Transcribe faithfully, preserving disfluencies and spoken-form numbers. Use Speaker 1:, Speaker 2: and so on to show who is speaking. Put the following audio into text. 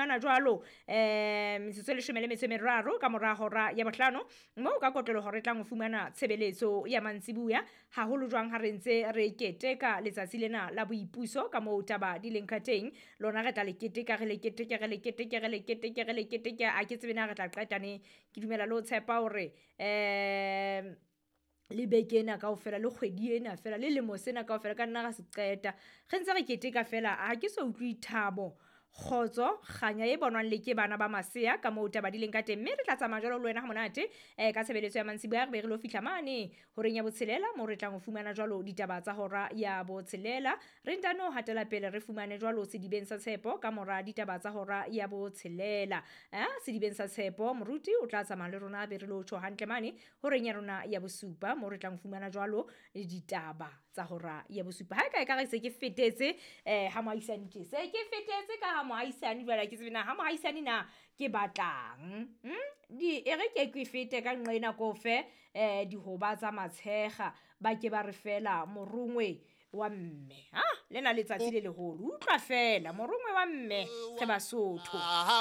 Speaker 1: fumana jwalo um metsotso e leshome le metso e meraro ka mora hora ya bohlano, moo ka kotloloho re tlang ho fumana tshebeletso ya mantsibuya, haholo jwang ha re ntse re keteka letsatsi lena la boipuso ka moo taba di leng ka teng. Lona re tla le keteka, re le keteke, re le keteke, re le keteke, re le keteke, a ke tsebe na re tla qeta neng. Ke dumela le ho tshepa hore um le beke ena kaofela, le kgwedi ena fela, le lemo sena kaofela ka nna ra se qeta re ntse re keteka fela. Ha ke so utlwe thabo, kgotso, kganya e bonwang le ke bana ba masea ka moo taba di leng ka teng. Mme re tla tsamaya jwalo le wena ha monate um ka tshebeletso ya mantsibuya, re be re lo fihla mane horeng ya botshelela moo re tlang ho fumana jwalo ditaba tsa hora ya botshelela. Re ntano hatela pele re fumane jwalo sedibeng sa tshepo ka mora ditaba tsa hora ya botshelela. Eh, sedibeng sa tshepo moruti o tla tsamaya le rona, be re lo tjho hantle mane horeng ya rona ya bosupa moo re tlang ho fumana jwalo ditaba tsa hora ya bosupa. Ha e ka e ka re se ke fetetse um ha moahisane tje, se ke fetetse ka ha moahisane jwale, ha ke tsebe na ha moahisane na ke batlang. Hmm? Di e re ke ke fete ka nqena ko fe um dihoba tsa matshekga, ba ke ba re fela morongwe wa mme. Ha lena letsatsi le leholo, utlwa fela morongwe wa mme re Basotho.